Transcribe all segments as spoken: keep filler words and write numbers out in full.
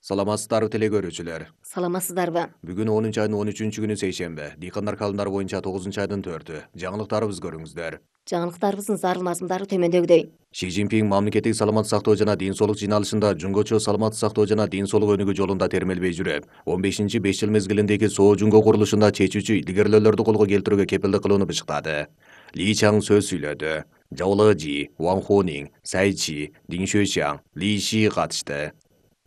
Саламатсыздарбы теле көрүүчүлөр. Саламатсыздарбы? Бүгүн онунчу айдын он үчүнчү күнү сейшембе. Дыйкандар каалымдары боюнча тогузунчу айдын төртү. Жаңылыктарыбызды көрүңүздөр. Жаңылыктарыбыздын зарыл мазмундары төмөндөгүдөй. Ши Цзиньпин мамлекеттик саламаттык сактоо жана ден соолук жыйналышында жумгочу саламаттык сактоо жана ден соолук өнүгүү жолунда термелбей жүрүп, он бешинчи беш жыл мезгилиндеги соо жумго курулушунда чечүүчү илгерилөөлөрдү колго келтирүүгө кепилдик кылууну бышыктады. Ли Чаң сөз сүйлөдү. Жао Лежи, Ван Хонин, Цай Чи, Дин Шуйшаң, Ли Ши катышты.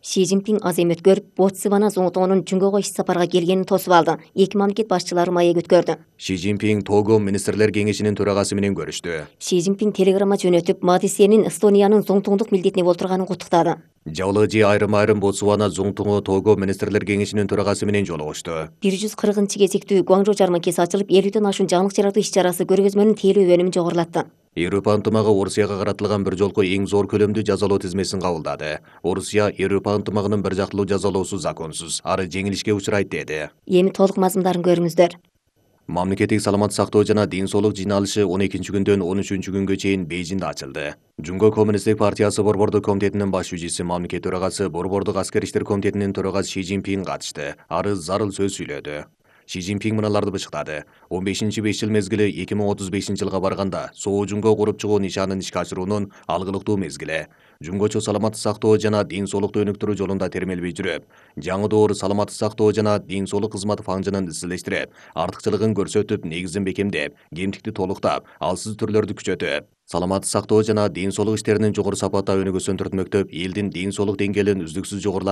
Ши Цзиньпин аз эми өткөрүп, Ботсвана Зоңтоонун Жумгого иш сапарга келгенин тосуп алды. Эки мамлекет башчылары маек өткөрдү. Ши Цзиньпин Того министрлер кеңешинин төрагасы менен көрүштү. Ши Цзиньпин телеграмма жөнөтүп, Мадисенин Эстониянын зоңтоңдук милдетине болтурганын куттуктады. Жао Лежи айрым-айрым Ботсвана Зоңтоңу Того министрлер кеңешинин төрагасы менен жолугушту. бир жүз кыркынчы кезектүү Гуаңжоу жарманкеси ачылып, элүүдөн ашуун жаңылык жаратуу иш-чарасы көргөзмөнүн тейлөө өнүмүн жогорулатты. Европа ынтымагы Орусияга каратылган бир жолку эң зор көлөмдүү жазалоо тизмесин кабылдады. Орусия Европа ынтымагынын бир жактылуу жазалоосу законсуз, ары жеңилишке учурайт деди. Эми толук мазмундарын көрүңүздөр. Мамлекеттик саламаттык сактоо жана ден соолук жыйналышы он экинчи күндөн он үчүнчү күнгө чейин Бейжиңде ачылды. Жумго коммунисттик партиясы Борбордук комитетинин баш жүчүсү, мамлекет төрагасы, Борбордук аскер иштер комитетинин төрагасы Ши Цзиньпин катышты. Ары зарыл сөз сүйлөдү. Ши Цзиньпин мыналарды бышыктады. он бешинчи беш жыл мезгили эки миң отуз бешинчи жылга барганда соо жумго куруп чыгуу нишанын ишке ашыруунун алгылыктуу мезгили. Жумгочу саламаттык сактоо жана ден соолукту өнүктүрүү жолунда термелбей жүрүп, жаңы доор саламаттык сактоо жана ден соолук кызматы фаңжынын изчилештирип, артыкчылыгын көрсөтүп, негизин бекемдеп, кемтикти толуктап, алсыз түрлөрдү күчөтүп, саламаттык сактоо жана ден соолук иштеринин жогору сапатта өнүгүүсүн түртмөктөп, элдин ден соолук деңгээлин үздүксүз жогорулатып